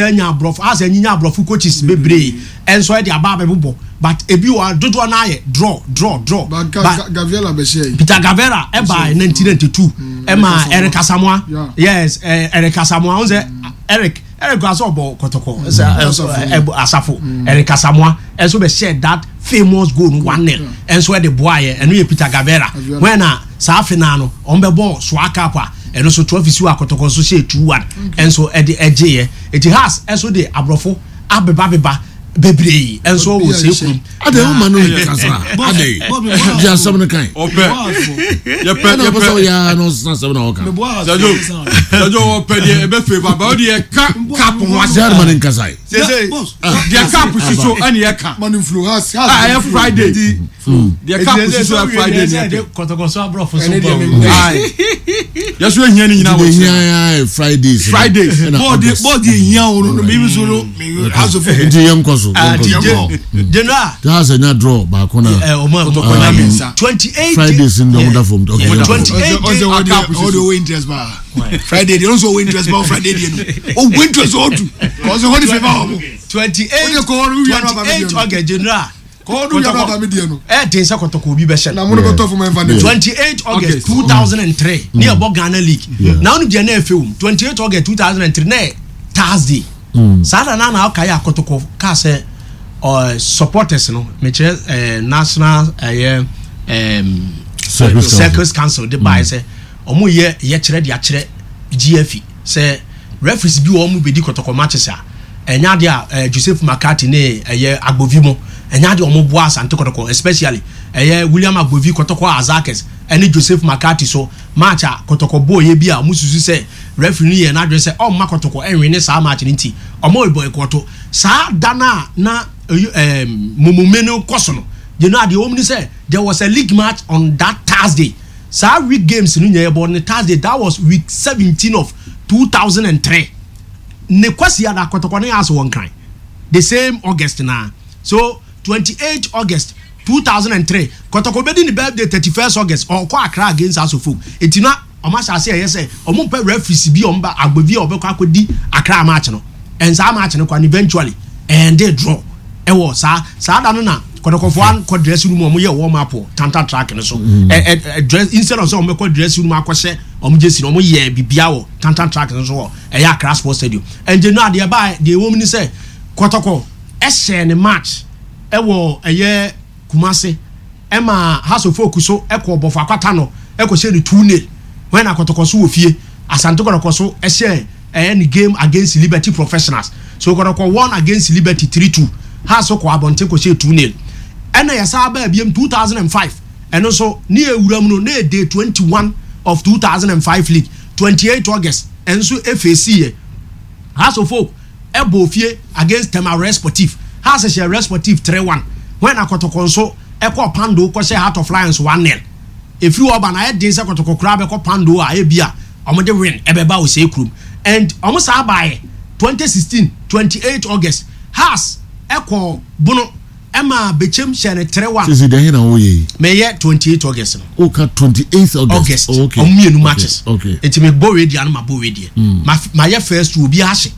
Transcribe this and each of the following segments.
Anya aborɔfo asɛ anyinya aborɔfo coaches bebree nso ɛde aba abɛbobɔ but ebi wɔ dodoɔ no ayɛ draw draw draw. But Gaviera bɛhyɛ yi. Peter Gaviera ɛba 1992 ɛma Eric Asamoah yes Eric Asamoah ɔn sɛ Eric Eric kura sɛ ɔbɔ kɔtɔkɔ ɛsɛ asafo Eric Asamoah ɛnso bɛhyɛ that famous goal no 1-0 ɛnso ɛde boa yɛ ɛno yɛ Peter Gaviera when a saa afe naa no wɔn bɛbɔ Soa Cup a ɛno nso trophy si wɔ akɔtɔkɔ nso hyɛ 2-1 ɛnso ɛde ɛgyeeɛ eti Hearts ɛnso de aborɔfo abebabeba bebree ɛnso wɔ sɛ kurom. Adé o ma no yɛ kasa adé di asɛm no kan. Ɔpɛ yɛpɛ ɛna ɔpɛ sɛ ɔyɛ ara na ɔsesa asɛm na ɔka. Sɛjo sɛjo ɔpɛ deɛ ɛbɛ fɛ ba ba o deɛ ka cup ho asɛm. Gyaade ma ne nkasa yi. Sese deɛ cup si so ɛna yɛ ka. Manu flu has has. A ɛyɛ Friday. Deɛ cup si so yɛ Friday ni ɛpɛ. Kɔtɔkɔ so aborɔfo so bɔ. Yɛso ehia ni nyinaa wɔ kyerɛ. Ehia yɛ Fridays. Fridays. Bɔɔdi bɔɔdi ehia wo no mi so no asofo. Nti yɛn kɔ so. General. Taa sɛ nya draw baako na. Kɔtɔkɔ nya mi nsa. 28 Fridays ni ɔmo da fam. 28 Ɔsɛ ɔdi ɔdi ɔwɔ interest paa. Friday deɛ ɔnso ɔwɔ interest paa Friday deɛ no. Ɔwɔ interest ɔdu. Kɔsɛ hɔ ni fɛ ba ɔmo. 28 28 August General. Kɔtɔkɔ ɛden sɛ kɔtɔkɔ obi bɛhyɛ no. 28 August 2003 ne ɛbɔ Ghana League na ɔno deɛ na ɛfɛ wom 28 August 2003 na ɛyɛ Thursday saa da na na ɔka yɛ akɔtɔkɔ kaa sɛ supporters no mekyerɛ national ɛyɛ circles council de baeɛ sɛ wɔn yɛ yɛkyerɛ de akyerɛ GFE sɛ referees bi wɔ wɔn bɛdi kɔtɔkɔ matches a ɛnyɛ adeɛ a eh, Joseph McCarthy ne ɛyɛ Agbovi mo ɛnyɛ adeɛ a wɔn boa Asante Kɔtɔkɔ especially ɛyɛ William Agbovi Kɔtɔkɔ Azakes ɛne Joseph McCarthy so match a Kɔtɔkɔ bɔɔyɛ bi a wɔn susu sɛ referee no yɛ n'adwene sɛ ɔmma Kɔtɔkɔ ɛnwene saa match no nti wɔn boycott saa da no a na ɛɛ mumume no kɔ so no you know adeɛ wɔn ni sɛ there was a league match on that Thursday saa week games no nyɛ yɛbɔ ne Thursday that was week 17 of 2003 Ne Kwasiada kɔtɔkɔ ne ase wɔ Nkran the same August naa so 28 August 2003 kɔtɔkɔ bɛdi ne birthday 31st August ɔkɔ Accra against House of Folk eti na ɔmo ahyɛ ase ɛyɛ sɛ ɔmo mpɛ referees bi ɔmo ba Agbovi a ɔbɛkɔ akɔdi Accra match no and saa match no kɔ and eventually ɛnde draw ɛwɔ saa saa da no na kɔtɔkɔfoɔ ankɔ dressing room ɔmo yɛ warm up wɔ Tanta track no so ɛ ɛ dress instead of sɛ ɔmo bɛkɔ dressing room akɔhyɛ ɔmo jersey no ɔmo yɛ bibia wɔ Tanta track no so wɔ ɛyɛ Accra Sports Stadium. Ɛnti no a deɛ ɛbaeɛ, deɛ ɛwɔ mu ne sɛ Kɔtɔkɔ hyɛɛ ne match wɔ ɛyɛ Kumasi ɛma Hearts of Oak so kɔɔ Bɔfo Akwata no kɔhyɛɛ no 2-nil when na Kɔtɔkɔ so wɔ fie. Asante Kɔtɔkɔ so hyɛɛ ɛyɛ ne game against Liberty Professionals. So Kɔtɔkɔ won against Liberty 3-2. Hearts kɔɔ abɔnten kɔhyɛɛ 2-nil. Ɛna yɛsan baa biom 2005 ɛno nso ne yɛwura mu no na ɛyɛ day 21 of 2005 league 28 August nso efeesi yɛ. Hearts of Oak bɔɔ fie against Tema Red Sportif. Hearts hyɛɛ Red Sportif 3-1 when na Kɔtɔkɔ nso kɔɔ Pando kɔhyɛɛ Heart of Lions 1-0. Efiri hɔ ba no ayɛ den sɛ Kɔtɔkɔ koraa bɛkɔ Pando a ebia wɔde win ɛbɛba Osei kurom. And wɔn saa baeɛ 2016 28 August Hearts kɔɔ Bono ɛma Bechem hyɛɛ no 3-1. Sisi deɛ he na woyɛ yi? Meyɛ 28 August no. Woka 28 August? August. Oh, okay. Ɔmo mmienu matches. Okay. Nti me bɔ wei deɛ ano ma bɔ wei deɛ. Ma mayɛ first two obi ahye.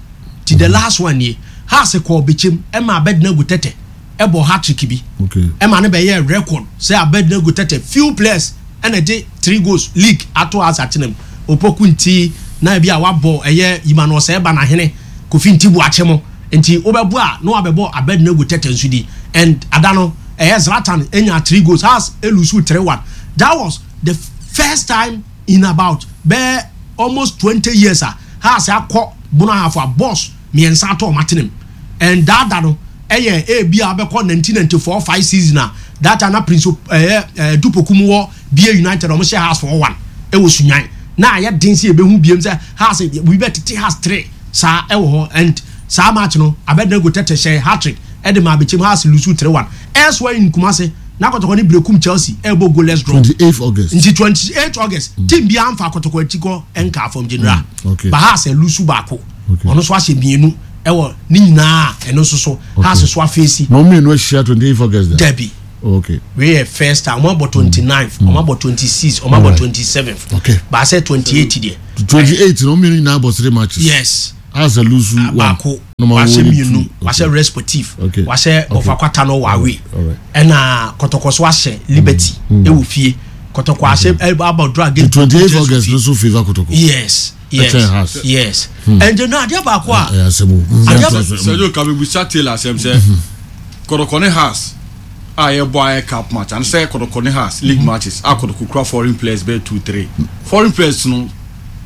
Ti the last one nie. Hearts kɔɔ Bechem ɛma Abednego Tɛtɛ ɛbɔ hat-trick bi. Okay. Ɛma no bɛyɛɛ record sɛ Abednego Tɛtɛ few players ɛna ɛde three goals league ato Hearts atena mu. Opoku nti na ebi a wabɔ ɛyɛ Emmanuel Osei Banahene, Kofi Nti Boakye mo. Nti wobɛbɔ a na wabɛbɔ Abednego Tɛtɛ nso di and ada no ɛyɛ Zlatan nyaa three goals Hearts elusu 3-1 that was the first time in about bɛyɛ almost 20 years a Hearts akɔ Bono Ahafo a boss mmiɛnsa atɔ wɔn atenem and that da no ɛyɛ ebi a wobɛkɔ 1994 5 season a that time na Prince ɛyɛ ɛɛ Dupoku mu wɔ BA United wɔn hyɛ Hearts 4-1 ɛwɔ Sunyan na ayɛ den sɛ yɛbɛhu biem sɛ Hearts bi bɛtete Hearts 3 saa ɛwɔ hɔ and saa match no Abednego Tetteh hyɛɛ hat-trick de maa Bechem Hearts lusu 3-1 elsewhere in Kumasi na Kɔtɔkɔ ne Berekum Chelsea ɛrebɔ goalless draw. 28 August. Nti 28 August team biara nfa Kɔtɔkɔ akyi kɔ nkaa fam general Okay. but Hearts alusu baako Okay. ɔno nso ahyɛ mmienu ɛwɔ ne nyinaa ɛno nso so Hearts so afeesi. Na wɔn mmienu ahyia 28 August da? Dabi. Oh, okay. Wei yɛ first time ɔmo abɔ 29th ɔmo abɔ 26 ɔmo abɔ 27th Okay. baasɛ 28 deɛ. 28 na wɔn mmienu nyinaa bɔ three matches. Yes. Hearts lose one. Baako, Na ɔmo wahyɛ awɔ mmienu, two. wahyɛ Resportif, Okay. wahyɛ Okay. Ɔfakwata no wɔ away. Alright. Ɛna Kɔtɔkɔ so ahyɛ Liberty ɛwɔ fie. Kɔtɔkɔ ahyɛ ɛbɔ draw The against 28 Kotoko August fie. no so favour Kotoko. Yes. Ɛkyɛn Hearts. Yes. Ɛnti no adeɛ baako a Ɛyɛ asɛm o. Adeɛ- Sɛjo kabebusa Taylor asɛm sɛ Kɔtɔkɔ ne Hearts a yɛbɔ ayɛ cup match and sɛ Kɔtɔkɔ ne Hearts league matches a Kɔtɔkɔ kura foreign players bɛyɛ two three foreign players no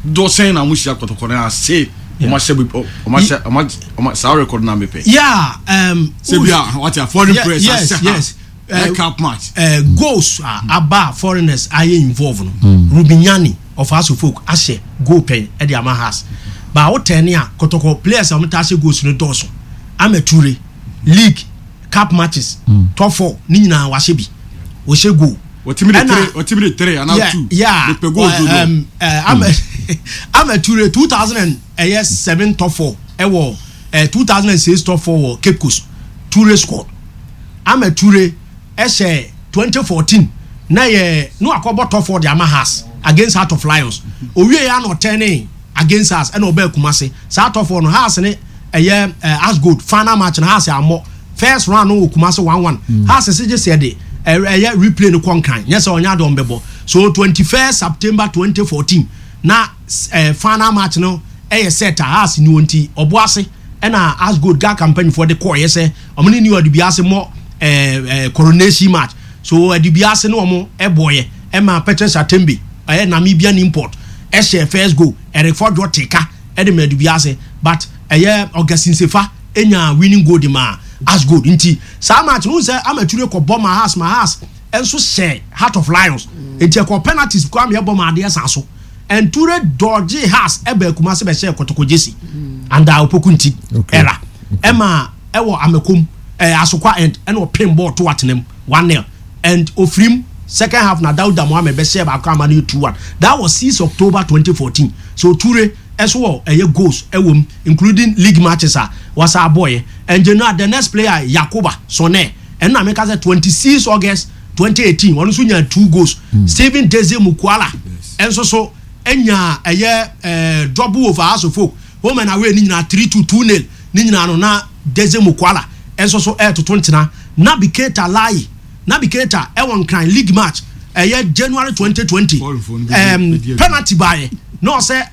dɔsɛn na mo hyia Kɔtɔkɔ ne Hearts se ɔmo ahyɛ bi ɔmo ahyɛ ɔmo ɔmo saa record na mepɛ. Yeah, Sɛ bi a wate a foreign players ahyɛ yes. Hearts ɛyɛ cup match. Goals a aba a foreigners ayɛ involve no, Rubinyani of Hearts of Oak ahyɛ goal pɛn ɛde ama Hearts. Ba wotɛn a Kɔtɔkɔ players a wɔn ta ahyɛ goals no dɔɔso. Ahmed Ture, league cup matches, top four ne nyinaa wahyɛ bi, wɔhyɛ goal. Wɔtumi de three, wɔtumi de three anaa two. Mepɛ goals dodo. Ahmed Ture 2000 and ɛyɛ seven top four ɛwɔ 2006 top four wɔ Cape Coast, Ture scored. Ahmed Ture ɛhyɛ 2014 na yɛ no akɔbɔ top four de ama Hearts against Heart of Lions. Owie yɛ ana ɔtɛne against Hearts ɛna ɔbɛɛ Kumase saa top four no. Hearts ne ɛyɛ Ashgold final match na Hearts amɔ first round no wɔ Kumase 1-1. Hearts sɛ gye sɛ de ɛyɛ replay no kɔ Nkran nyɛ sɛ ɔnyɛ ade ɔmbɛbɔ. So 21st September 2014 na final match no ɛyɛ set a Hearts ni wɔn ti ɔbo ase ɛna Ashgold ga campaign foɔ de kɔɔ yɛ sɛ ɔmo ne New Adubiase mɔ ɛɛ ɛɛ coronation match. So Adubiase ne ɔmo ɛbɔɔyɛ ɛma Petrus Atembe, ɛyɛ Namibian import, ɛhyɛ first goal. Eric Fordjour teka ɛde ma Adubiase, but ɛyɛ Augustine Sefa enya winning goal de ma Ashgold. Nti saa match no sɛ Amature kɔ bɔ ma Hearts, ma Hearts ɛnso hyɛ Heart of Lions, nti ɛkɔ penalties kɔ ama ɛbɔ ma adeɛ san so and Ture dɔgye Hearts ɛbɛ Kumase bɛhyɛ Kɔtɔkɔ jersey under Opoku nti era ɛma ɛwɔ Amekom Asokwa end ɛna ɔpem bɔɔl to atenam 1-0 and ofirim second half na Dawuda Mohammed bɛhyɛ baako ama no yɛ 2-1. That was 6 October 2014. So Ture ɛso wɔ ɛyɛ goals ɛwɔ mu, including league matches a wasa abɔɔyɛ. And you know the next player, Yakuba Sone, ɛno na meka sɛ 26 August 2018 ɔno nso nya two goals. Stephen Deze Mukwala ɛnso so ɛnya ɛyɛ double over Hearts of Oak, home and away ne nyinaa 3-2, 2-0 ne nyinaa no na Deze Mukwala ɛnso so ɛɛtoto ntena. Naby Keita Lai, Naby Keita ɛwɔ Nkran league match ɛyɛ January 2020, penalty baayɛ na ɔsɛ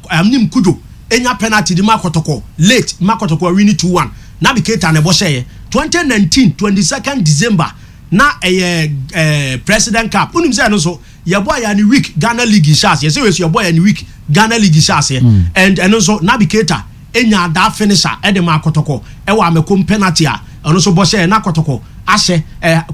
anim Kudo enya penalty de ma Kɔtɔkɔ late ma Kɔtɔkɔ win 2-1. Naby Keita na ɛbɔ hyɛɛ. 2019 22nd December na ɛyɛ President Cup. Onim sɛ ɛno nso yɛbɔ yɛ ne week Ghana League hyɛ aseɛ sɛ wɛsu yɛbɔ yɛ ne week Ghana League hyɛ aseɛ and ɛno nso Naby Keita enya that finisher ɛde ma Kɔtɔkɔ ɛwɔ Amekom, penalty a ɛno nso bɔ hyɛ na Kɔtɔkɔ ahyɛ.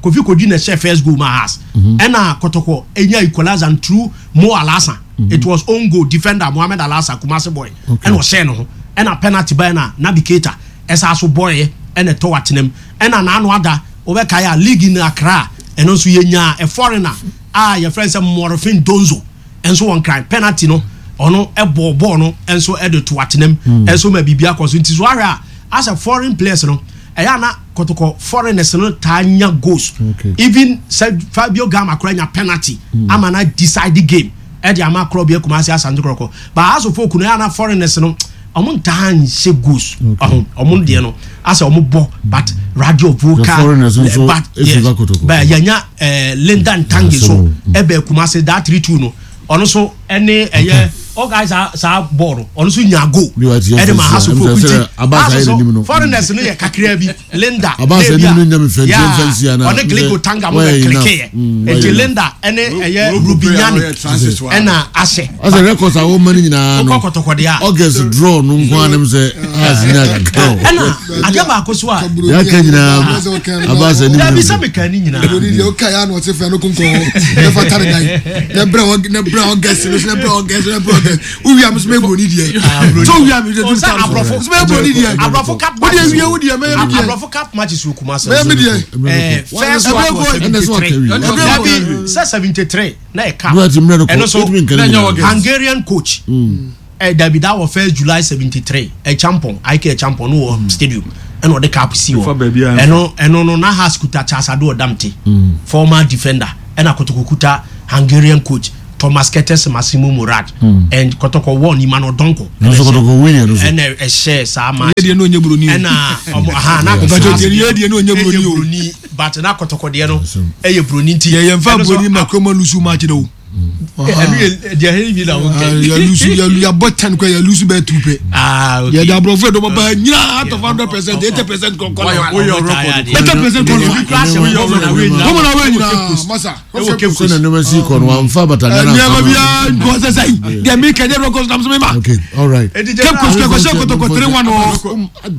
Kofi Kodwi na ɛhyɛ first goal ma Hearts ɛna Kɔtɔkɔ enya equalizer through Mo Alasa. It was own goal. Defender Mohammed Alasa, Kumasi boy, ɛna ɔhyɛ ne ho ɛna penalty bɛyɛ na Naby Keita ɛsa so bɔɔyɛ ɛna ɛtɔ atenam. Ɛna n'ano ada wɔbɛkae a league in Accra ɛno nso yɛnya a foreigner a yɛfrɛ sɛ Morifing Donzo ɛnso wɔn kran penalty no ɔno ɛbɔ bɔɔl no ɛnso ɛde to atenam ɛnso ma biribi akɔ so. Nti so ahwɛ a asɛ foreign players no ɛyɛ ana Kɔtɔkɔ foreigners no taa nya goals. Even sɛ Fabio Gama kora nya penalty ama na decide the game ɛde ama korɔ bi Kumasi Asante Kɔtɔkɔ. But Hearts of Oak no ɛyɛ ana foreigners no ɔmo ntaa nhyɛ goals. Ɔho ɔmo deɛ no asɛ ɔmo bɔ, but Radio Vocal foreigners nso but efi ba Kotoko. But yɛnya Linda Ntange so ɛbɛ Kumasi that 3-2 no ɔno so ɛne ɛyɛ ɔguy saa bɔɔl no ɔno so nya goal Bi wa ti yɛ ɛde ma fɛnsi a, Hearts of ɛmu Oak. sɛ Nti sɛ Abbas Hearts ayɛ so n'anim no. foreigners no yɛ kakra bi. Linda Abbas na ebi a- anim no nya me fɛnsi, Yeah, fɛnsi ana, ɔne Gliko Tanga mo wɔyɛ bɛ enough. klike yɛ. Wɔyɛ Nti enough. Linda ɛne ɛyɛ Rubinyani ɛna ahyɛ. Ɔsɛ records a wɔma no nyinaa no Wokɔ Kɔtɔkɔ deɛ a August draw no nko anim sɛ Hearts nya kakra o. Ɛna adeɛ baako so a Yɛaka nyinaa Abbas anim dabi no. sɛ meka ne nyinaa. Broni deɛ ɔka yɛ ano ɔte fɛ no konkɔn ne fa tare dan ne brɛ wɔ ne brɛ August no so ne brɛ August ne brɛ August wowia mi so mɛ broni deɛ so wowia mi so Ɔsɛ aborɔfo so mɛ broni deɛ aborɔfo cup wo deɛ matches wie wo deɛ mɛyɛ mi deɛ aborɔfo cup matches wɔ Kumasi mɛyɛ mi deɛ first one was Ɛna sɛ 73. ɔka wie. Dabi sɛ 73 na yɛ cup Bro, ati mmerɛ no ɛno kɔ so wotumi nka ne nyinaa. August. Hungarian coach dabi, that was 1st July 73. Champon ik Champon no wɔ stadium ɛna ɔde cup si hɔ. Fa baabi a Ɛno no na Hearts kuta Charles Ado Ɔdamte, former defender, ɛna Kotoko kuta Hungarian coach. Thomas Kertes Massimo Murad and Kɔtɔkɔ wɔ Emmanuel Donkor. Nanso Kɔtɔkɔ win yɛ no so. Ɛna ɛhyɛ saa match. Yɛ deɛ no onye buroni o. Ɛna ɔmo aha na Kɔtɔkɔ deɛ yɛ deɛ no onye buroni o. Buroni but na Kɔtɔkɔ deɛ no ɛyɛ buroni nti. Yɛ yɛn fa buroni ma kuroma lusu match de o. Ɛnu yɛ deɛ ɛyɛ bi na o kɛ. Yɛ lusu yɛ lu yɛ bɔ 10 kɔ yɛ lusu bɛɛ tu pɛ. Ah okay. Yɛ de aborɔfo yɛ dɔbɔ ba nyina out of 100% 80% kɔ kɔ. 80% kɔ kɔ. Wɔn na wei nyinaa masa. Ɛwɔ Cape Sɛ na nneɛma si kɔ no wamfa batagana Nneɛma biara nkɔ sɛ sɛn. Deɛ mi kɛ nyɛ records nam so mi ma. Okay, all right. Cape Coast kɛ kɔhyɛ Kotoko 3-1 o.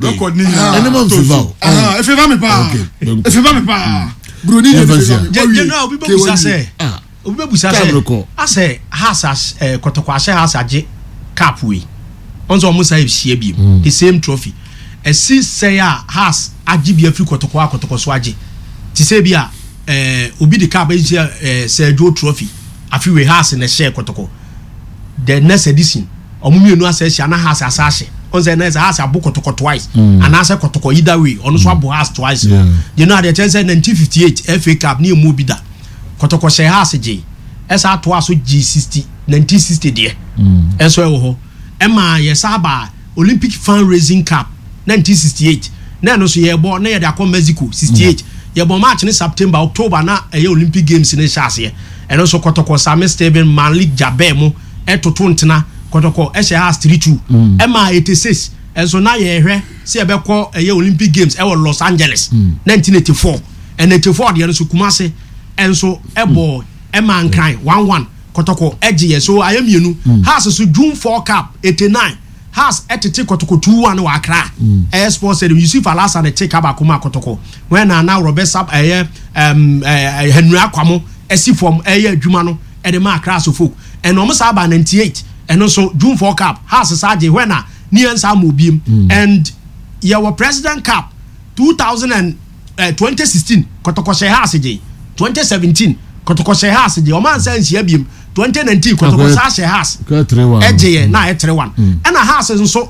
Record ni nyinaa. Ɛne ma nfifa o. Efifa mi paa. Efifa mi paa. Buroni de efifa mi. General obi bɛ busa sɛ. Obi bɛ busa sɛ. Asɛ Hearts as Kotoko ahyɛ Hearts agye cup wei. Ɔn sɛ ɔmo sa ehyia bi the same trophy. Ɛsi sɛ a Hearts agye bi afiri Kotoko a Kotoko so agye. Te sɛ bi a obi de cup ehyia Sir Joe trophy afi wei Hearts na ɛhyɛ Kotoko. The next edition ɔmo mmienu asa ahyia na Hearts asa ahyɛ. Ɔn sɛ na ɛsɛ Hearts abo Kotoko twice. Anaasɛ Kotoko either way ɔno so abo Hearts twice. You know adeɛ kyɛn sɛ 1958 FA Cup ne emu bi da. Kotoko hyɛ Hearts gye. Ɛsa atoa so gye 60 1960 deɛ. Ɛnso ɛwɔ hɔ. Ɛma yɛsa aba Olympic Fundraising Cup 1968. Na ɛno nso yɛbɔ na yɛde akɔ Mexico 68. Yɛbɔ match ne September October na ɛyɛ Olympic Games ne hyɛ aseɛ. Ɛno nso Kotoko Sami Steven Malik Jabir mo ɛtoto ntena Kotoko ɛhyɛ Hearts 3-2. Ɛma 86 ɛnso na yɛhwɛ sɛ yɛbɛkɔ ɛyɛ Olympic Games ɛwɔ Los Angeles 1984. Ɛna 84 deɛ no nso Kumasi ɛnso ɛbɔ ɛma Nkran 1-1 Kotoko ɛgye yɛ so ayɛ mmienu. Hearts so June 4 Cup 89 Hearts ɛtete Kotoko 2-1 wɔ Accra. Ɛyɛ Sports Stadium Yusuf Alhassan ne te ka baako ma Kotoko. Wɔn na na Robert Sab ɛyɛ Henry Akwamo ɛsi fam ɛyɛ adwuma no ɛde ma Accra so folk. Ɛna ɔmo saa ba 98 ɛno nso June 4 Cup Hearts saa gye wɔn na ne yɛn saa ma obiem. And yɛwɔ President Cup 2016 Kotoko hyɛ Hearts gye 2017 Kotoko hyɛ Hearts gye ɔmo ansa nhyia biem 2019 Kotoko saa hyɛ Hearts ɛgye yɛ na ayɛ 3-1 ɛna Hearts nso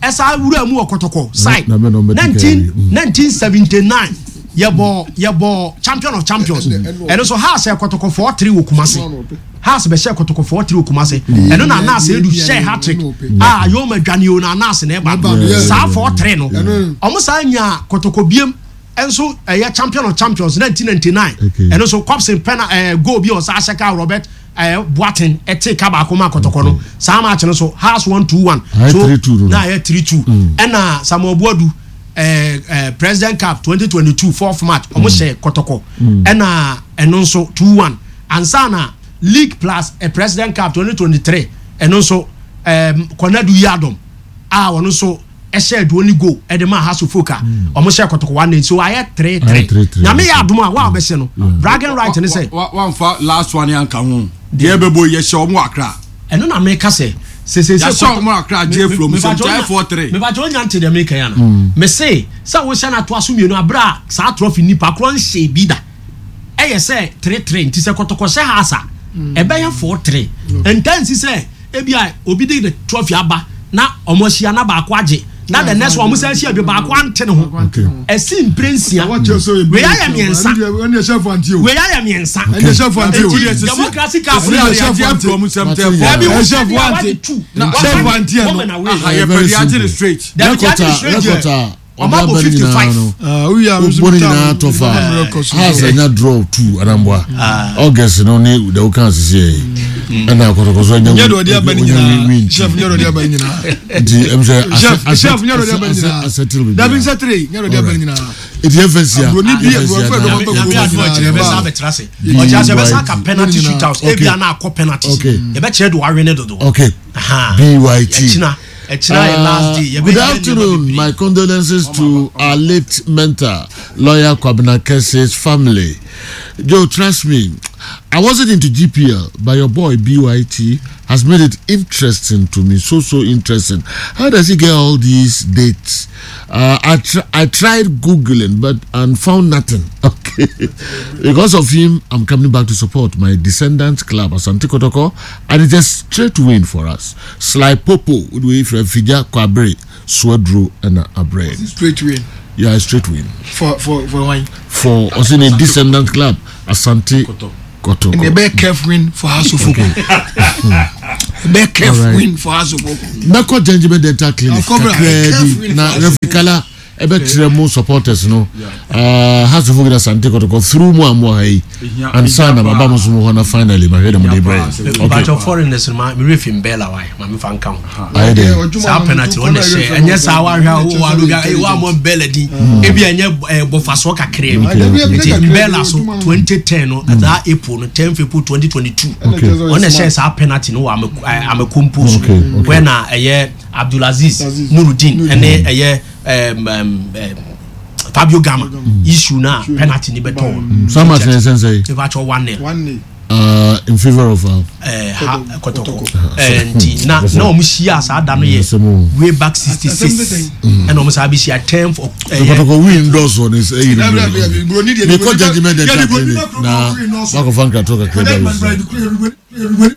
ɛsa wura mu wɔ Kotoko side 1979 yɛbɔ champion of champions ɛno nso Hearts yɛ Kotoko 4-3 wɔ Kumasi. Hearts bɛhyɛ Kotoko 4-3 wɔ Kumasi. Ɛno na Anas Edu hyɛ hat-trick a Yoma dwane o na Anas na ɛba saa 4-3 no ɔmo saa nya Kotoko biem ɛnso ɛyɛ champion of champions 1999 ɛno nso Cobson pɛna goal bi a ɔsa ahyɛ ka Robert Boateng ɛte ka baako ma Kotoko no saa match no so Hearts 1-2-1 so na ayɛ 3-2 ɛna Samuel Boadu President Cup 2022 4th match ɔmo hyɛ Kotoko ɛna ɛno nso 2-1 ansa na League plus President Cup 2023 ɛno nso Konadu Yiadom a ɔno nso ɛhyɛ aduo ne goal ɛde ma Hearts of Oak a ɔmo hyɛ Kotoko 1 so ayɛ 3-3 nyame yɛ adom a wa ɔbɛhyɛ no bragging right ne sɛ wamfa last one yanka ho deɛ ɛbɛbɔ yɛhyɛ ɔmo Accra ɛno na meka sɛ yɛhyɛ ɔmo Accra gye from sɛ nkyɛn 4-3 mebakyɛ onya nte deɛ meka ya no mese sɛ wohyɛ no atoa so mmienu aberɛ a saa trophy nipa korɔ nhyɛ bi da ɛyɛ sɛ 3-3 nti sɛ Kotoko hyɛ Hearts a ɛbɛyɛ 4-3 ntansi sɛ ebi a obi de the trophy aba na ɔmo ahyia na baako agye na the next one ɔmo sɛ ahyia bi baako ante ne ho ɛsi mpire nsia wei ayɛ mmiɛnsa wei ayɛ mmiɛnsa eti democracy cup ne yɛ from sɛmtɛ ɛbi wɔ sɛ bi a wadi two wɔn na wei yɛ pɛ di agye ne straight record a Ɔmo abɔ 55. Wobɔ ne nyinaa tɔ fa Hearts anya draw 2 anamboa August no ne deɛ woka asese yɛ ɛna Kotoko so anya win chef nyɛ dɔde aba nyinaa nti ɛm sɛ chef nyɛ dɔde aba nyinaa asɛtele biribi dabi nsɛ tere nyɛ dɔde aba nyinaa nti yɛmfa nsia aburoni bi aburofo ɛdɔm aba nyame adom akyerɛ yɛbɛsa abɛtena ase ɔkyerɛ sɛ yɛbɛsa aka penalty shootouts ebia na akɔ penalties yɛbɛkyerɛ de wawe ne dodo okay BYT ɛkyina ɛkyina yɛ last day Good afternoon. My condolences to our late mentor, lawyer Kwabena Kese's family. Joe, trust me, I wasn't into GPL, but your boy BYT has made it interesting to me. So, so interesting. How does he get all these dates? I tried Googling, but and found nothing. Okay. Because of him, I'm coming back to support my descendants club, Asante Kotoko, and it's a straight win for us. Sly Popo, we from Fija Kwabre, Swedru, and Abre. Straight win. Yeah, a straight win. For why? For Osine Descendant Club, Asante Kɔtɔkɔ. Ɛnna ɛbɛyɛ curve win for Hearts of Oak. Ɛbɛyɛ curve win for Hearts of Oak. Mɛkɔ Gentleman Dental Clinic kakraa bi na Referee Kala ɛbɛkyerɛ mu supporters no Hearts of Oak na Asante Kɔtɔkɔ through mu a mo ha yi ansa na maba mo so mo hɔ na finally mahwɛ dɛ mo de brɛ. Okay. Bàtɔ foreigners ma mi refi mbɛla wa ma mi fa nka ho. Ayɛ dɛ. Saa penalty wɔn na hyɛ ɛnyɛ saa wa hwɛ a wa do bi wa mo mbɛla di ebi ɛnyɛ ɛɛ bɔfasoɔ kakra bi nti mbɛla so 2010 no saa April no 10 April 2022 wɔn na hyɛ saa penalty no wɔ Amekompo so wɛ na ɛyɛ Abdulaziz Nurudeen ɛne ɛyɛ Fabio Gama issue na penalty ni bɛ tɔ. Saa match na ɛsɛn sɛ. Ebi atwa 1-0. In favor of ha Kɔtɔkɔ nti na na wɔn hyia saa da no yɛ way back 66 ɛna wɔn saa bi hyia 10th. Kɔtɔkɔ win dɔsɔ ni eyi ni bi mi kɔ judgement dental clinic na wakɔ fa nkrato kakra bi ayi.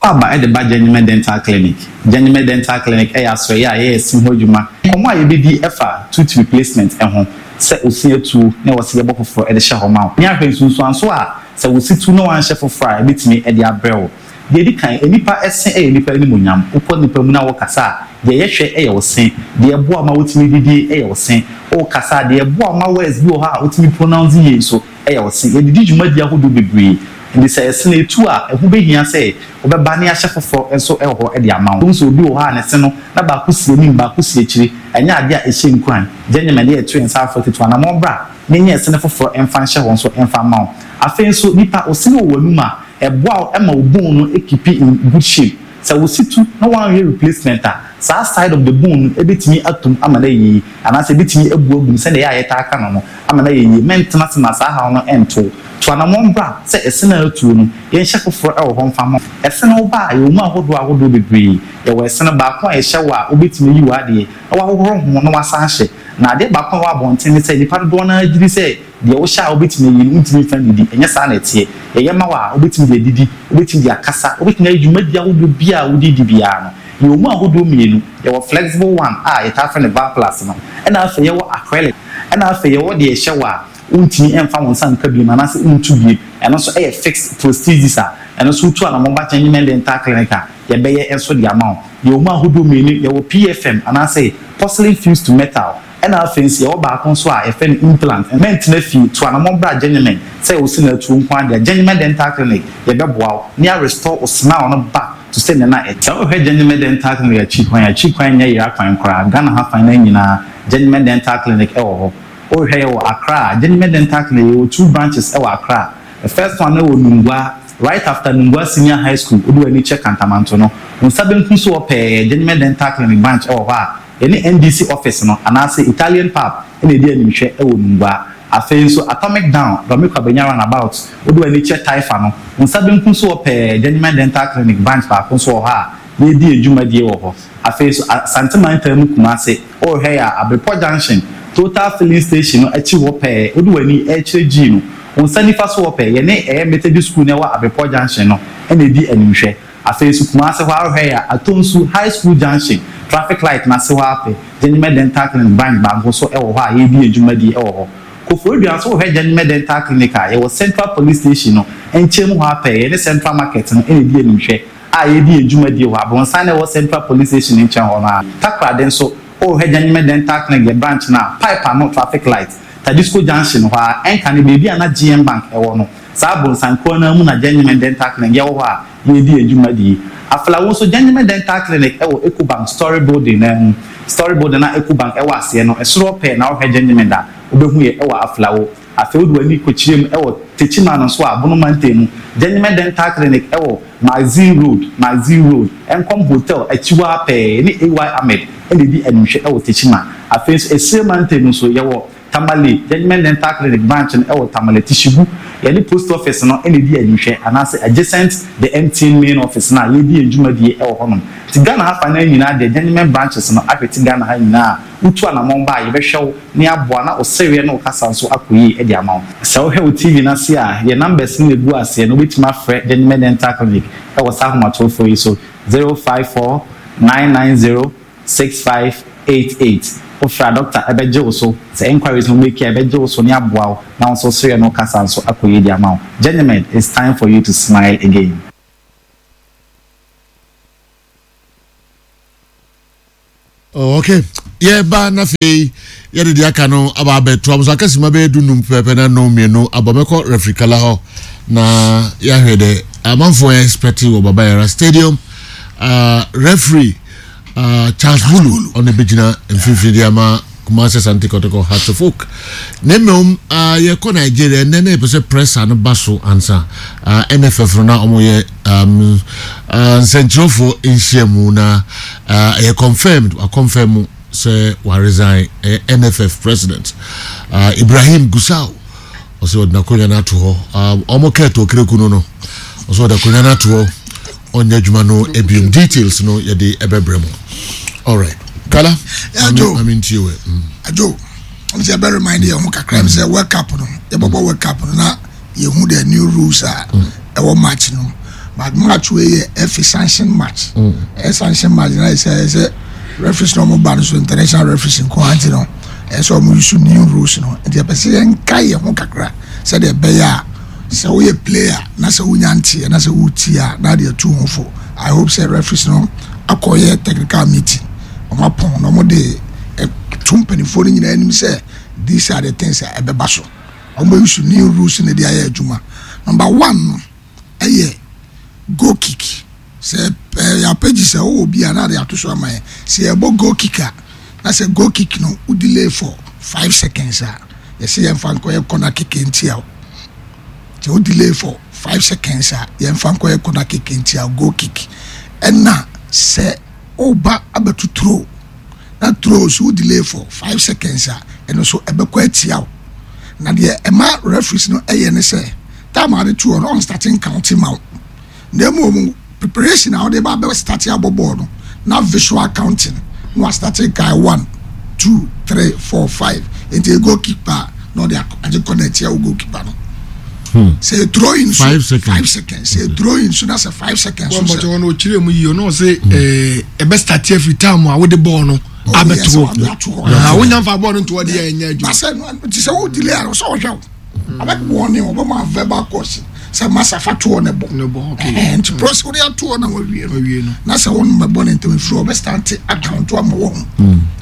Aba de ba Gyenyemɛ Dental Clinic. Gyenyemɛ Dental Clinic yɛ asoɛeɛ a yɛyɛ se ho adwuma. Nkɔmmɔ a yɛbɛdi fa tooth replacement ho, sɛ wo se atuo na ɛwɔ sɛ yɛbɔ foforɔ de hyɛ hɔ ma wo, ne ahwɛ nsunsuansoɔ a sɛ wo se tu na woanhyɛ foforɔ a ɛbɛtumi de abrɛ wo. Deɛ ɛdi kan, nnipa se yɛ nnipa animuonyam. Wokɔ nnipa mu na wokasa a, deɛ yɛhwɛ yɛ wo se. Deɛ ɛboa wo ma wotumi didi yɛ wo se. Wokasa a, deɛ ɛboa wo ma words bi wɔ hɔ a wotumi pronounce yie nso yɛ wo se. Yɛde di dwumadi ahodoɔ bebree. Enti sɛ ɛse no etu a, ɛho behia sɛ wobɛba na yɛahyɛ foforɔ nso wɔ hɔ de ama wo. Wohu sɛ obi wɔ hɔ a ne se no, na baako si anim, baako si akyire. Ɛnyɛ adeɛ a ɛhyɛ nkuran. Gye nyama de ɛto yɛn nsa afra tutu anammɔn bra na yɛnyɛ ɛse no foforɔ mfa nhyɛ hɔ nso mfa mma wo. Afei nso, nipa, wo se no wɔ w'anum a, ɛboa wo ma wo bone no keepi in good shape. Sɛ wo se tu na woanhwɛ replacement a, saa side of the bone no bɛtumi atom ama no ayɛ yie, anaasɛ ɛbɛtumi abu agu mu sɛdeɛ ɛyɛ a yɛtaa ka no no, ama no ayɛ yie. Mɛntena ase ma saa haw no nto wo. Tu anammɔn bra sɛ ɛse no a atuo no, yɛnhyɛ foforɔ wɔ hɔ mfa mma wo. Ɛse no woba a, yɛwɔ mu ahodoɔ ahodoɔ bebree. Yɛwɔ ɛse no baako a yɛhyɛ wo a wobɛtumi ayi w'adeɛ na woahohoro ho na woasan ahyɛ. Na adeɛ baako a ɛwɔ abɔnten ne sɛ nnipa dodoɔ no ara gye di sɛ deɛ wohyɛ a wobɛtumi ayi no, wontumi mfa nnidi. Ɛnyɛ saa na ɛteɛ. Yɛyɛ ma wo a, wobɛtumi de adidi, wobɛtumi de akasa, wobɛtumi ayɛ dwumadie ahodoɔ biara a wode di biara no. Yɛwɔ mu ahodoɔ mmienu, yɛwɔ flexible one a yɛtaa frɛ no Valplast no, ɛna afei yɛwɔ acrylic, ɛna afei yɛwɔ deɛ yɛhyɛ wo a wontumi mfa wo nsa nka biom anaasɛ wontu biom, ɛno nso yɛ fixed prosthesis a ɛno nso wotu anamɔn ba Gyenyman Dental Clinic a yɛbɛyɛ nso de ama wo. Yɛwɔ mu ahodoɔ mmienu, yɛwɔ PFM anaasɛ porcelain fused to metal, ɛna afei nso yɛwɔ baako nso a yɛfrɛ no implant. Mɛntena fie, tu anamɔn bra Gyenyman, sɛ wo se na atuo nko ara deɛ a, Gyenyman Dental Clinic yɛbɛboa wo na yɛ restore wo smile no back to sɛnea na ɛte. Sɛ wohwɛ Gyenyman Dental Clinic akyi kwan a, akyi kwan nyɛ yera kwan koraa, Ghana ha fan no nyinaa Gyenyman Dental Clinic wɔ hɔ. Wohwɛ yɛwɔ Accra a, Gyenyman Dental Clinic yɛwɔ two branches wɔ Accra. The first one no wɔ Nungua, right after Nungua Senior High School, wode w'ani kyerɛ Kantamanto no, wo nsa benkum so hɔ pɛɛ, Gyenyman Dental Clinic branch wɔ hɔ a yɛne NDC office no anaasɛ Italian pub na ɛdi animhwɛ wɔ Nungua. Afei nso Atomic Down, Dome Kwabenya roundabout, wode w'ani kyerɛ Taifa no, wo nsa benkum so hɔ pɛɛ, Gyenyman Dental Clinic branch baako nso wɔ hɔ a yɛredi yɛn dwumadie wɔ hɔ. Afei nso Asante mantam mu Kumase, worehwɛ yɛ a, Abrepɔ Junction, Total Filling Station no akyi hɔ pɛɛ, wode w'ani rekyerɛ G no, wo nsa nifa so hɔ pɛɛ, yɛne ɛyɛ Methodist School no a ɛwɔ Abrepɔ Junction no na ɛdi animhwɛ. Afei nso Kumase hɔ ara worehwɛ yɛ a, Atonsu High School Junction, traffic light no ase hɔ ara pɛ, Gyenyemɛ Dental Clinic branch baako nso wɔ hɔ a yɛredi yɛn dwumadie wɔ hɔ. Koforidua nso worehwɛ Gyenyemɛ Dental Clinic a, yɛwɔ Central Police Station no nkyɛn mu hɔ ara pɛɛ, yɛne Central Market no na ɛdi animhwɛ. a yɛredi yɛn dwumadie wɔ abrɔnsan no a ɛwɔ Central Police Station no nkyɛn hɔ no ara. Takoradi nso, worehwɛ Gyenyemɛ Dental Clinic yɛn branch no a, pipe ano traffic light, Tadisco junction hɔ ara, ɛnka ne baabi a na GM Bank wɔ no. Saa abrɔnsan korɔ no ara mu na Gyenyemɛ Dental Clinic yɛwɔ hɔ a yɛredi yɛn dwumadie. Aflao nso, Gyenyemɛ Dental Clinic wɔ Ecobank Story Building no ara mu. Story Building a Ecobank wɔ aseɛ no, ɛsoro hɔ pɛɛ na wohwɛ Gyenyemɛ da a, wobɛhu yɛ wɔ Aflao. Afei wode w'ani kɔkyerɛ mu wɔ Techiman nso a, Bono mantam mu, Gyenyemɛ Dental Clinic wɔ Magazine Road, Magazine Road, Nkom Hotel akyi hɔ ara pɛɛ, yɛne AY Ahmed na ɛdi animhwɛ wɔ Techiman. Afei nso Esire mantam mu nso, yɛwɔ Tamale, Gyenyemɛ Dental Clinic branch no wɔ Tamale, Tishigu, yɛne Post Office no na ɛdi animhwɛ, anaasɛ adjacent the MTN main office no a yɛredi yɛn dwumadie wɔ hɔnom. Nti Ghana ha fa no ara nyinaa deɛ, Gyenyemɛ branches no ahwete Ghana ha nyinaa a, Wotu anamɔn ba a, yɛbɛhwɛ wo na yɛaboa na wo sereɛ ne wo kasa nso akɔ yie de ama wo. Sɛ wohwɛ wo TV no ase a, yɛn numbers no na ɛgu aseɛ no, wobɛtumi afrɛ Gentleman Dental Clinic wɔ saa ahomatorofoɔ yi so, 054 990 6588, Wofrɛ a doctor bɛgye wo so. Sɛ enquiries na wo make a ɛbɛgye wo so ne aboa wo na wo nso sereɛ no kasa nso akɔ yie de ama wo. Gentlemen, it's time for you to smile again. Oh, okay. Yɛba na afei yɛde deɛ aka no aba abɛto am so aka sima bɛyɛ du num pɛpɛ na nnɔn mmienu abɔ mɛkɔ referee kala hɔ na yɛahwɛ dɛ amanfoɔ yɛ expect wɔ Baba Yara Stadium uh, referee uh, Charles Bulu ɔno bɛgyina mfimfini de ama Kumasi Asante Kotoko Hearts of Oak. Na mmom uh, yɛkɔ Nigeria ɛnɛ na yɛpɛ sɛ pressure no ba so ansa uh, NFF no na wɔyɛ um, uh, nsɛnkyerɛwfoɔ nhyiamu na uh, ɛyɛ confirmed wakɔnfɛm mu sɛ waresign ɛyɛ NFF president uh, Ibrahim Gusau ɔsɛ ɔde n'akonnwa no ato hɔ um, wɔn kɛɛtɔ okereku no no ɔsɛ ɔde akonnwa no ato hɔ ɔnyɛ adwuma no ebiom details no yɛde ɛbɛbrɛ mu alright kala mame ntie wɛ mm. Ajo ɔmo sɛ ɛbɛ remind yɛn ho kakra mi sɛ World Cup no yɛbɛbɔ World Cup no na yɛhu the new rules a ɛwɔ match no but match wei yɛ FA sanction match ɛyɛ sanction match na ɛsɛ ɛsɛ referees na ɔmo ba no so international referees nko ara nti no ɛsɛ ɔmo use new rules no nti ɛpɛ sɛ yɛnka yɛn ho kakra sɛdeɛ ɛbɛyɛ a Sɛ woyɛ player na sɛ wonya nteɛ na sɛ wotie a na adeɛ tu ho fo. I hope sɛ referees no akɔyɛ technical meeting, wɔn apɔn na wɔn de to mpanimfoɔ no nyinaa anim sɛ these are the things a ɛbɛba so. Wɔn bɛ use new rules no de ayɛ adwuma. Number one no ɛyɛ goal kick. Sɛ ɛyɛ apɛgyi sɛ wowɔ bi a na ade ato so ama yɛn. Sɛ yɛbɔ goal kick a na sɛ goal kick no wo delay for 5 seconds a yɛsɛ yɛmfa nkɔyɛ corner kick ntia wo. Sɛ wo delay for 5 seconds a yɛmfa nkɔyɛ corner kick ntia wo, goal kick. Ɛna sɛ woba abɛto throw na throw so wo delay for 5 seconds a ɛno so ɛbɛkɔ atia wo. Na deɛ ɛma referees no ɛyɛ ne sɛ time a ade to hɔ no ɔn starting counting ma wo. Na mmom preparation a wɔde ba bɛ start abɔ bɔɔl no na visual counting na wa start guy one, two, three, four, five nti goalkeeper na ɔde agye kɔ na ɛtia wo goalkeeper no. Sɛ throwing so 5 seconds, 5 seconds sɛ throwing so na sɛ 5 seconds so sɛ. Wɔn bɔtɔ wɔn okyerɛ mu yie ɔno ɔsɛ ɛɛ ɛbɛ start every time a wɔde bɔɔl no abɛto hɔ wonya nfa bɔɔl no nto hɔ de yɛ ɛnyɛ adwuma. Basɛ ti sɛ wo delay a ɔsɛ ɔhwɛ wo. Abɛboɔ ne ɔbɛma verbal course sɛ masa fa toɔ ne bɔ nti prɔs wode atoɔ na wawie no na sɛ wo mɛbɔ ne ntɛm ɛfiri ɔbɛstante akaunto ama wɔ ho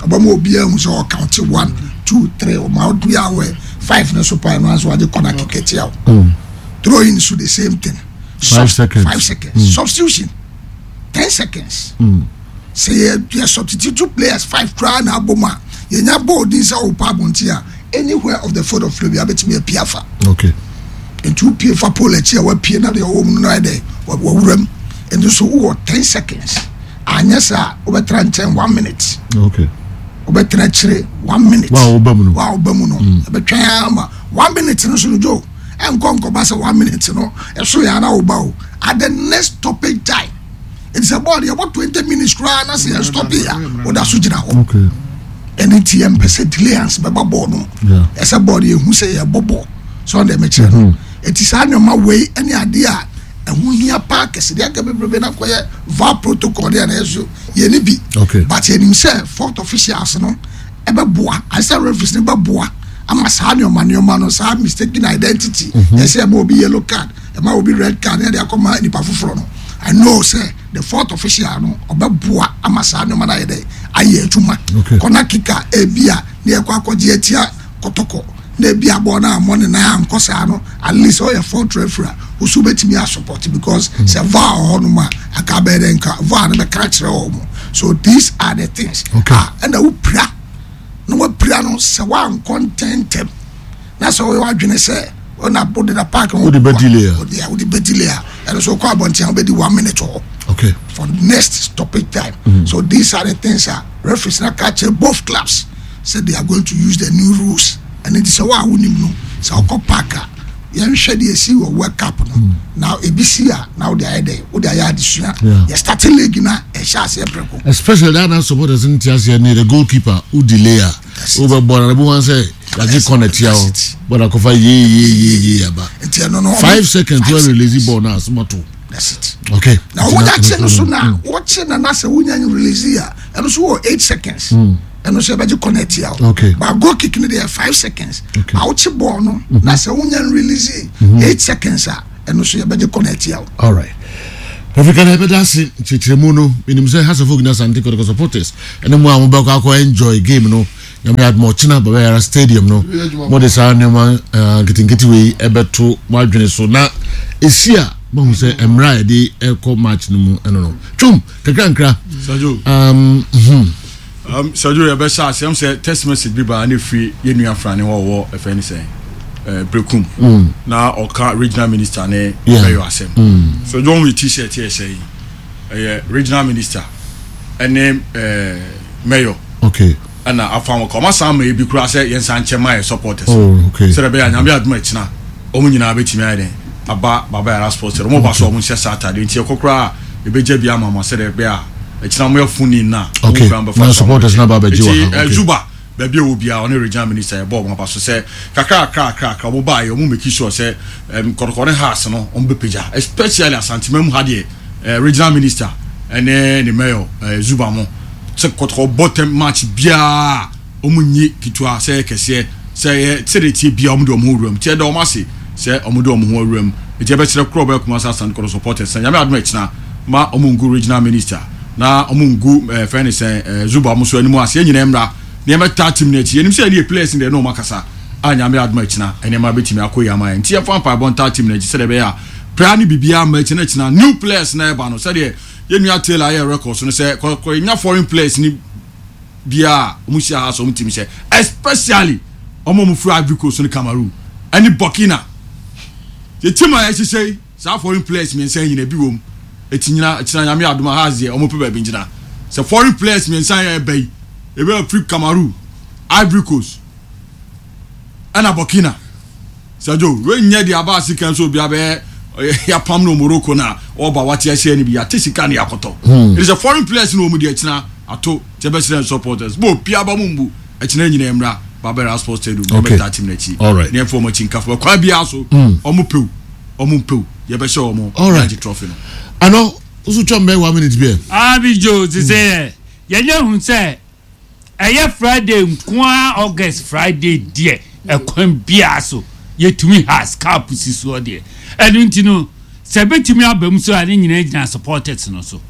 ɔbɛma obiaa hu sɛ ɔkaunte 1 2 3 ɔma obiaa wɔ 5 no so pae no anso wagye kɔna kekɛtia wo throwing so the same thing. 5 seconds. 5 seconds. Substitution 10 seconds. Sɛ yɛ yɛ substitute two players five koraa na abɔ mu a yɛnya bɔɔl din sɛ ɔpa abɔnten a anywhere of the field of play bi abɛtumi apue afa. Nti wopue fa pole akyi a wapue na deɛ ɔwɔ mu no ayɛ dɛ wawura mu nti so wowɔ 10 seconds anyɛ saa wobɛtena nkyɛn one minute. Wobɛtena akyire one minute. Wa a woba mu no. Wa a woba mu no ɛbɛtwɛn ama one minute no so no jo ɛnkɔ nkɔba sɛ one minute no ɛso yɛ ana woba o at the next stoppage time nti sɛ bɔɔl yɛbɔ 20 minutes koraa na sɛ yɛ stop yi a woda so gyina hɔ. Ɛne nti yɛmpɛ sɛ delayance bɛba bɔɔl no mu. Ɛsɛ bɔɔl yɛhu sɛ yɛbɔ bɔɔl sɛ ɔde mɛkyerɛ no ɛti saa nneɛma wei ne adeɛ a ɛho hia paa kɛse deɛ aka bebrebe na kɔyɛ VAR protocol deɛ na ɛyɛ so yɛne bi. But yɛnim sɛ fourth officials no ɛbɛboa ayɛ sɛ referees no bɛboa ama saa nneɛma nneɛma no saa mistaken identity yɛsɛ ɛma obi yellow card ɛma obi red card ne yɛde akɔma nipa foforɔ no. I know sɛ the fourth official no ɔbɛboa ama saa nneɛma no ayɛ dɛ ayɛ adwuma. Corner kick a ebi a ne yɛkɔ akɔgye atia Kɔtɔkɔ na ebi abɔ na amɔ ne nan ankɔ saa no at least ɔyɛ fourth referee a osu bɛtumi asupport because sɛ VAR wɔ hɔnom a aka bɛyɛ dɛ nka VAR no bɛka kyerɛ wɔn. So these are the things. Ah, ɛna wopira na wapira no sɛ wankɔ ntɛntɛm na sɛ wɔyɛ wadwene sɛ ɔna wode na park no Wode bɛ delay a. Wode bɛ delay a ɛno so wokɔ abɔnten a wobɛdi one minute hɔ for next stoppage time. So these are the things a referees na ka kyerɛ both clubs sɛ they are going to use the new rules. Ɛno nti sɛ wo a wonim no sɛ wokɔ park a yɛnhwɛ deɛ ɛsi wɔ World Cup no na ebi si a na wode ayɛ dɛ wode ayɛ adesua. Yɛ starting league na ɛhyɛ aseɛ prɛko. Especially that na supporters nti aseɛ ne the goalkeeper wo delay a That's it. wobɛbɔ na ebi wɔn sɛ yagye corner tia That's hɔ it. bɔda kɔfa yee yee yee yee aba nti ɛno no 5 seconds five wɔ release seconds. ball na asomato. That's it. Okay. Na wonya kye no so na wɔkye na na sɛ wonya release a ɛno so wɔ 8 seconds. Ɛno nso yɛbɛgye corner tia wo. Okay. But goal kick no deɛ 5 seconds. Okay. But wokye ball no na sɛ wonya release 8 seconds a, ɛno nso yɛbɛgye corner tia wo. All right. Africa na ɛbɛda ase nkyerɛkyerɛmu no. Menim sɛ Hearts of Oak ne Asante Kotoko supporters ɛne mu a mobɛkɔ akɔ enjoy game no, Nyame adom ɔkyena Baba Yara Stadium no, mode saa nneɛma nketenkete wei ɛbɛto mo adwene so na ɛsi a mahu sɛ mmerɛ a yɛde ɛkɔ match no mu ɛno no twom kakra nkra. Sajo. Sajo, yɛbɛhyɛ asɛm sɛ text message bi baa ne firi yɛn nua Frane hɔ a ɔwɔ ɛfɛ ne sɛn Brekum na ɔka regional minister ne bɛyɔ asɛm. Sajo, wɔn yɛ T-shirt yɛ hyɛ yi, ɛyɛ regional minister ɛne mayor ɛna afa wɔn ka wɔn asan ama ebi kura sɛ yɛn nsa nkyɛn ma yɛ supporters. Sɛdeɛ ɛbɛyɛ a Nyame adum ɛkyina wɔn nyinaa bɛtumi ayɛ dɛn aba Baba Yara Sports Stadium. Wɔn ba so a wɔn nhyɛ saa ataade nti ɛkɔ koraa a ebɛgya bi ama mo sɛdeɛ ɛbɛyɛ a ɛkyina wɔn yɛ funi na wɔn kura bɛfa Na so supporters na ba abɛgye wɔ nti ha. Zuba baabi a ɛwɔ biara, ɔne regional minister yɛbɔ wɔn aba so sɛ kakra kakra kakra kakra wɔn baa yɛ wɔn make sure sɛ Kɔtɔkɔ ne Hearts no wɔn bɛpagya, especially Asantema mu ha deɛ, regional minister ɛne ne mayor Zuba mo sɛ Kɔtɔkɔ bɔ tɛm match biara wɔn nyi ketewa sɛ ɛyɛ kɛseɛ sɛ ɛyɛ sɛdeɛ tie biara, wɔn de wɔn ho wura mu. Tiɛ da wɔn ase sɛ wɔn de wɔn ho awura mu. Nti ɛbɛkyerɛ korɔ ɔbɛyɛ Kumasi Asante Kɔtɔkɔ supporters sɛ Nyame adom ɛkyina ma wɔn ngu regional minister na wɔn ngu fɛn ne sɛn Zuba mo so anim ase. Yɛn nyinaa mmra na yɛmɛtaa team no akyi. Yɛnim sɛ yɛne yɛ players no deɛ ne wɔn akasa a, Nyame adom akyina nneɛma bɛtumi akɔ yie ama yɛn. Nti yɛmfa mpaebɔ ntaa team no akyi sɛdeɛ ɛbɛyɛ a prayer ne biribiara mma akyina akyina new players na ɛba no, sɛdeɛ yɛn nua Taylor ayɛ records no sɛ kɔkɔ nya foreign players ni biara a wɔn hyia ha so wɔn team hyɛ, especially wɔn a wɔn firi Ivory Coast ne Cameroon ɛne Burkina. Yɛ team a yɛhyehyɛ yi, saa foreign players mmiɛnsa yi nyina bi wɔ mu. Eti nyina kyina Nyame adom a, ha deɛ wɔn pɛ baabi ngyina sɛ foreign players mmiɛnsa yɛ ɛba yi, ebi a firi Cameroon, Ivory Coast ɛna Burkina. Sajo, wei nyɛ deɛ aba ase kan sɛ obi abɛyɛ yapam no Morocco na ɔba wate ahyɛ no bi yɛate sika ne yɛakɔtɔ. It is a foreign players na wɔn deɛ kyina ato kyɛ bɛsrɛ supporters bɔ obi aba mu mbu ɛkyina nyina mmra Baba Yara Sports Stadium na ɛbɛtaa team n'akyi ne ɛmfa wɔn akyi nkafo ɛkwan biara so, wɔn pew wɔn mpew, yɛbɛhyɛ wɔn agye trophy no. Ano nso twɛn bɛyɛ one minute bi ɛ. Abijo ti sɛ yɛnyɛ hu sɛ ɛyɛ Friday nkoa, August Friday deɛ, ɛkwan biara so yɛtumi Hearts cup si soɔ deɛ. Ɛno nti no sɛ ɛbɛtumi aba mu so a, ne nyinaa gyina supporters no so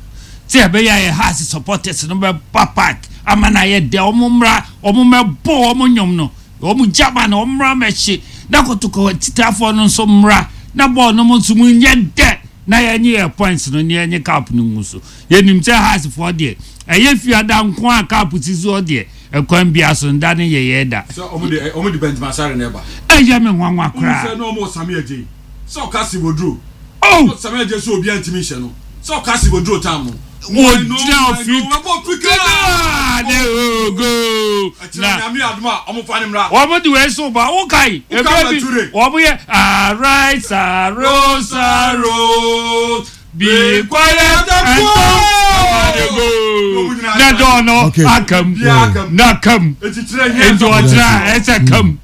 sɛ ɛbɛyɛ a yɛ Hearts supporters no bɛba park ama no ayɛ dɛ. Ɔmo mmra, ɔmo mmɛbɔ ɔmo nnwom no, ɔmo gyama no, ɔmo mmra mmɛhye na Kotoko atitafoɔ no nso mmra na bɔɔl no mo nso mu nyɛ dɛ na yɛnye yɛ points no ne yɛnye cup no ngu so. Yɛnim sɛ Heartsfoɔ deɛ, ɛyɛ Fiada nko a cup si soɔ deɛ, ɛkwan bia so nda ne yɛyɛ da. Sɛ ɔmo de Benjamin Asare na ɛba. Ɛyɛ me nwanwa koraa. Sɛ na ɔmo wɔ Sami Adjei sɛ ɔka Sivoduro. Oh! Sami Adjei sɛ obiara ntumi nhyɛ no sɛ ɔka Sivoduro tam no. Wɔgyina ofi ketewa ne ogo na Nyame adom a, ɔmo fa ne mmra. Wɔn de wei so ba wokae Woka ebire bi Mature. wɔn yɛ arise, arise, arise, be quiet and don't go na dɔɔ no akam na kam nti ɔkyerɛ a ɛsɛ kam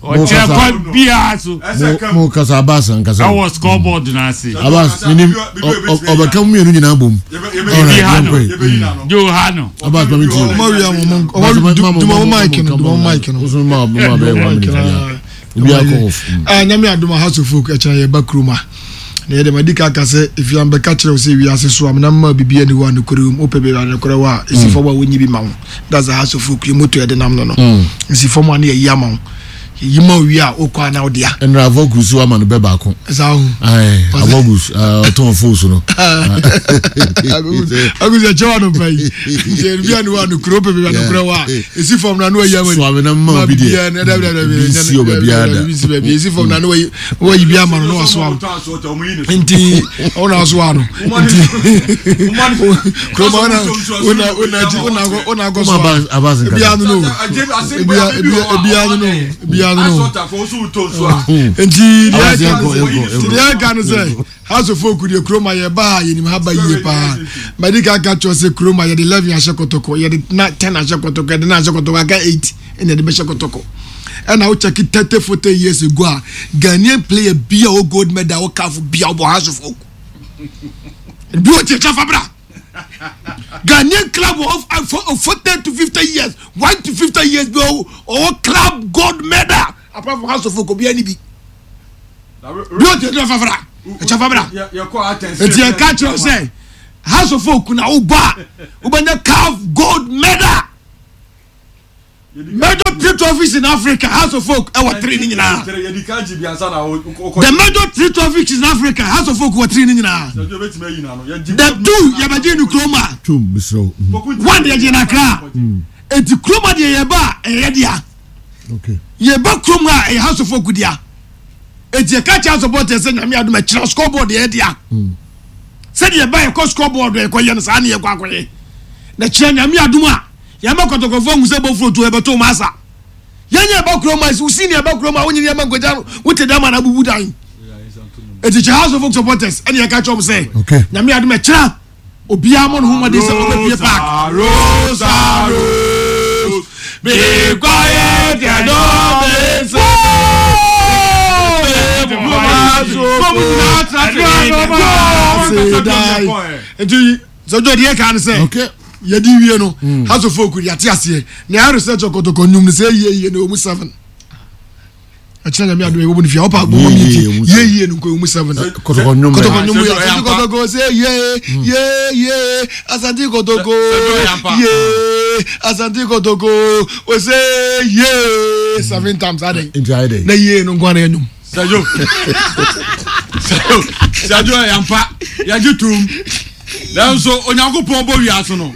ɔkyerɛ kwan biara so. Mo kasa, Abbas ankasa. Ɛwɔ scoreboard n'ase. Abbas minim ɔbɛka mu mmienu nyinaa bom. Ebi ha no jo ha no. Abbas mami ti. Ɔmo awia mo ɔmo duma mo mic no, duma mo mic no. Wosu ma ma bɛyɛ 1 minute ya. Obi akɔ off. Ah, Nyame adom a, Hearts of Oak ɛkyɛn yɛ ba kurom a. Na yɛde ma di ka aka sɛ efia mbɛka kyerɛ wo sɛ wiase so amena mma biribi ani hɔ a nokorɛ wɔ mu. Wopɛ baabi a nokorɛ wɔ a, ɛsi fam a wonyi bi ma wo. That's the Hearts of Oak yɛ moto yɛde nam no. Ɛsi fam a ne yɛyi ama wo. Yɛyi ma wo wie a, wokɔ a na wode a. Ɛnna Avogus ama no bɛ baako. Ɛsa ho. Avogus ɔtɔn fos no. Agus ɛkyɛ wa no pa yi. Nti bi ani hɔ a nokorɛ, wopɛ baabi a nokorɛ wɔ a, ɛsi fam na no wayi ama. So amena mma obi deɛ. Bi si wɔ baabi ada. Bi si baabi. Ɛsi fam na no wayi wayi bi ama no na wasoa wo. Nti ɔna asoa no. Nti kuroma ɔna ɔna ɔna akyi ɔna akɔ ɔna akɔ soa. Ebi ano no. Ebi ebi ebi ano no. Ebi ano no. Nti deɛ ɛka nti deɛ ɛka no sɛ Hearts of Oak deɛ, kuroma yɛ ba a yɛnim ha ba yie paa. Madi ka ka kyerɛ sɛ kuroma yɛde 11 ahyɛ Kɔtɔkɔ, yɛde na 10 ahyɛ Kɔtɔkɔ, yɛde 9 ahyɛ Kɔtɔkɔ, aka 8 ɛna yɛde bɛhyɛ Kɔtɔkɔ. Ɛna wo check 30 40 years ago a, Ghanaian player bi a ɔ gold medal wɔ CAF bi a ɔbɔ Hearts of Oak bi wɔ tiɛ kyɛ fa bra. Ghanaian club of of 40 to 50 years, 1 to 50 years bi ɔwɔ club gold medal apart from House of Folk obiara ni bi. Bi o tɛ fafra, ɛkyɛ fafra. Eti ɛka kyerɛ sɛ House of Folk na wo ba, wobɛnya CAF gold medal. Major three trophies in Africa, House of Folk ɛwɔ three ni nyinaa. The major three trophies in Africa, House of Folk wɔ three ni nyinaa. The two yɛbɛgye ni kuroma. One yɛgye na Accra. Eti kuroma deɛ yɛba a ɛyɛ dea. Yɛba kurom a ɛyɛ House of Folk dea. Eti yɛka kyerɛ supporters sɛ nyame adum ɛkyerɛ scoreboard yɛ dea. Sɛdeɛ yɛba yɛkɔ scoreboard yɛkɔ yɛ no saa ne yɛkɔ akɔyɛ. Na kyerɛ nyame adum a. Yɛma kɔtɔkɔfoɔ ahu sɛ bofuro to ɛbɛto wɔn asa. Yɛn yɛ ɛba kurom a wosi ni ɛba kurom a wonye nneɛma nkogya no wote dɛm ana abubu dan. Eti kyɛ House of Folk supporters ɛne yɛka kyerɛ wɔn sɛ nyame adom ɛkyerɛ obiara mɔ ne ho mmɔden sɛ ɔbɛpie park. Rosa Rose be quiet and don't be so. Nti sɛ ɔjɔ deɛ kan sɛ yɛde wie no hmm. House of Folk yɛate aseɛ na yɛ research ɔkɔtɔkɔ nnwom no sɛ yie yie no ɛwɔ mu seven ɛkyerɛ nyame adom ɛwɔ mu no fia ɔpa bɔmmɔ mi ti yie yie no nkɔ ɛwɔ mu seven kɔtɔkɔ nnwom kɔtɔkɔ nnwom yɛ asante kɔtɔkɔ sɛ yie hmm. yie yie asante kɔtɔkɔ yie asante kɔtɔkɔ ɔsɛ yie seven times adɛn na yie no nkɔ ana yɛ nnwom Sajo. Sajo. Sajo yɛ ampa. Yɛgye tom. Nanso Onyankopɔn bɔ wiase no.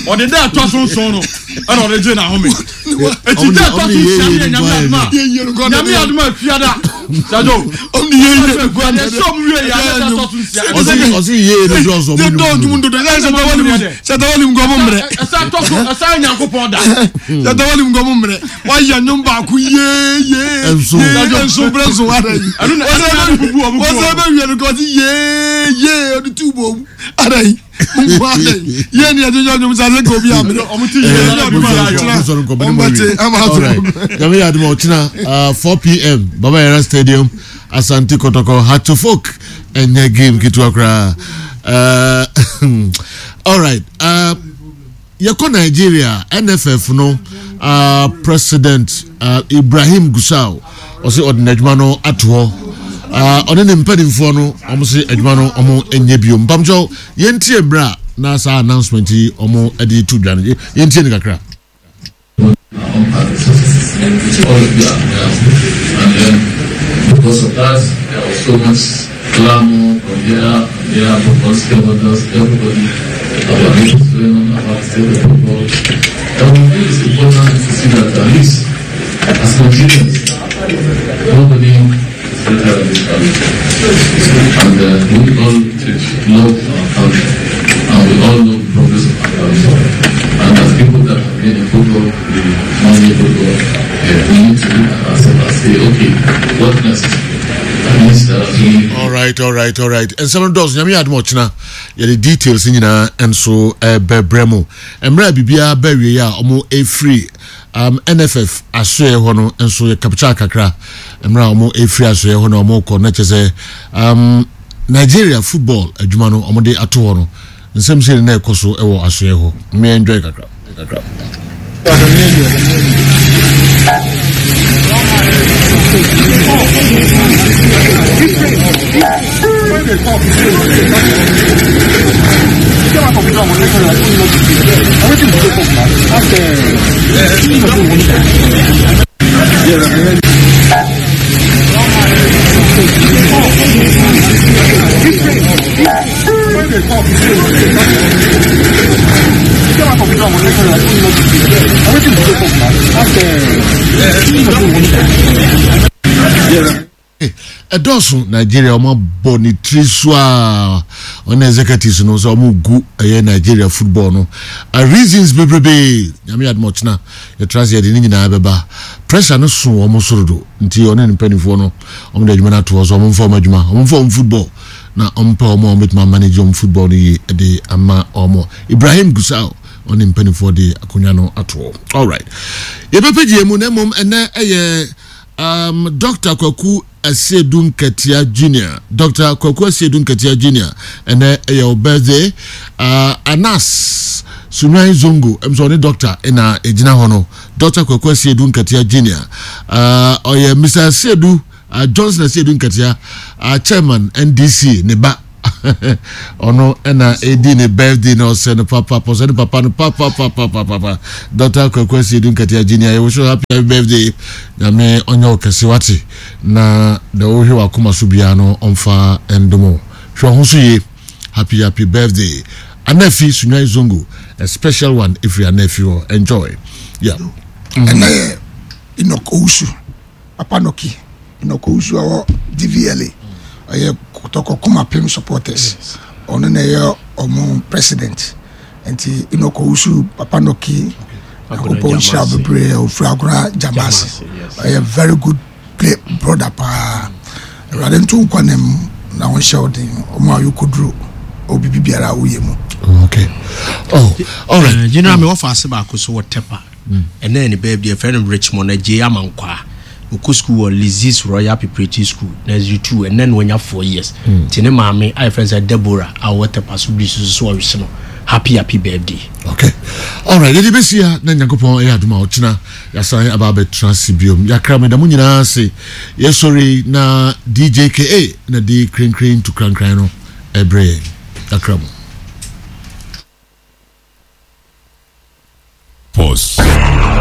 Ɔde dɛ ɛtɔ so nson no ɛna ɔde gye n'ahome. Eti dɛ ɛtɔ so nsia no yɛ nyame adum a nyame adum a fiada. Sajo. Yɛsɛ ɔmo wie yɛ adɛ ɛtɔ so nsia. Ɔsi yie no dɔɔso ɔmo nyum dodo. Sɛtawali mu nkɔmɔ mmerɛ. Ɛsɛ ɛtɔ so ɛsɛ Onyankopɔn da. Sɛtawali mu nkɔmɔ mmerɛ. Wayɛ nnwom baako yee yee Nso. yee nso brɛ nso ada yi. Ɛno na ɛno na ɛde bubu ɔmo Wɔsɛ bɛ wie no kɔ ɔsi yee yee ɔde tu bɔ mu ada yi. Nko ada yi. Yee ni ɛde nyɛ nnwom sa se ka obi amene. Ɔmo ti yie na ɛde ma ayɔ. Ɔmbɛte ama ato. Nyame yɛ adom a ɔkyena 4 pm Baba Yara Stadium Asante Kotoko Hatofok ɛnyɛ game ketewa koraa. Uh, all right. Uh, Yɛkɔ Nigeria a, NFF no President Ibrahim Gusau ɔse ɔde n'adwuma no ato hɔ. Ɔne ne mpanimfoɔ no wɔn se adwuma no wɔn nyɛ bio. Mpamkyɛw yɛntie mmerɛ a na saa announcement yi wɔn de to dwa no yɛntie no kakra. All of you are well, and then because of that, there was so much clamor from here and there from all stakeholders, everybody about what is going on about the state of football. And we feel it's important to see that at least as Nigerians, nobody is better than this country. And uh, we all love our country, and we all love the progress of our country. And as people that have been in football, the money football, yeah, we need to look at ourselves and say, okay, what next? All right, all right, all right. Nsɛm no dɔɔso nyame yɛ adom ɔkyena yɛde details nyinaa nso bɛbrɛ mu. Mmerɛ a biribiara ba awie a wɔn ɛfiri um, NFF asoɛ hɔ no nso yɛ kapkya kakra. Mmerɛ a wɔn ɛfiri asoɛ hɔ na wɔn kɔ na kyɛ sɛ um, Nigeria football adwuma no wɔn de ato hɔ no Nsɛm sei na ɛkɔ so wɔ asoɛe hɔ. Mmea enjoy kakra. Kakra. Ɛdɔɔso Nigeria wɔn abɔ ne tiri so a wɔn executives no sɛ wɔn gu ɛyɛ Nigeria football no reasons bebrebe nyame adum ɔkyena yɛtra sɛ yɛde ne nyinaa bɛba pressure no so wɔn soro do nti ɔne ne mpanimfoɔ no wɔn de adwuma no ato hɔ so wɔn mfa wɔn adwuma wɔn mfa wɔn football na ɔmpɛ wɔn a wɔbɛtumi amanage wɔn football no yie de ama wɔn. Ibrahim Gusau ɔne mpanimfoɔ de akonnwa no ato hɔ. Alright, yɛbɛpɛgye mu na mmom ɛnɛ ɛyɛ Um, Dr. Kwaku Asiedu Nketia Junior. Dr. Kwaku Asiedu Nketia Junior. Ɛnɛ ɛyɛ wo birthday. Uh, Anas Sunwan Zongo, ɛm sɛ ɔne doctor ɛna ɛgyina hɔ no. Dr. Kwaku Asiedu Nketia Junior. Uh, ɔyɛ Mr. Asiedu, uh, Johnson Asiedu Nketia, uh, chairman NDC, ne ba. ɔno ɛna ɛdi ne birthday na ɔsɛ no papa ɔsɛ ne papa no papapapapapa Dr. Kwaku Asiedu Nketia Junior yɛwɔ so happy happy birthday nyame ɔnyɛ wo kɛse wate na deɛ wohwɛ wakoma so biara no ɔmfa ndom wo hwɛ ho so yie happy happy birthday Anafi Sunwan Zongo a special one ɛfiri Anafi hɔ enjoy yeah ɛnɛ yɛ Enoch Owusu Papa Noki Enoch Owusu a ɔwɔ DVLA ɔyɛ Kotoko Kumapem supporters ɔno na ɛyɛ ɔmo president nti Enoch Owusu Papa Noki Nyankopɔn nhyira bebree ofiri Agona Jamase ɔyɛ very good play brother paa Awurade nto nkwa na mu na ɔnhyɛ wo den ɔmo a yɛkɔduro obi bibiara a woyɛ mu. Okay. Oh, all right. General, me wɔfa ase baako so wɔ Tepa. Ɛnnɛ yɛ ne birthday, yɛfrɛ no Richmond Adjei Amankwaa. Ɔkɔ sukuu wɔ Lizzie's Royal Preparatory School, Nursery 2. Ɛnnɛ na wanya 4 years. Nti ne maame a yɛfrɛ no sɛ Deborah a ɔwɔ Tepa so bere so so ɔrese no happy happy birthday. Okay. Alright, yɛde bɛsi ha na Nyankopɔn ɛyɛ adom a ɔkyena yɛasan aba abɛtena ase biom. Yɛakra meda mo nyinaa ase. Yɛsɔre na DJKA na di krenkren to krankran no ɛbrɛ yɛn. Yɛakra mo.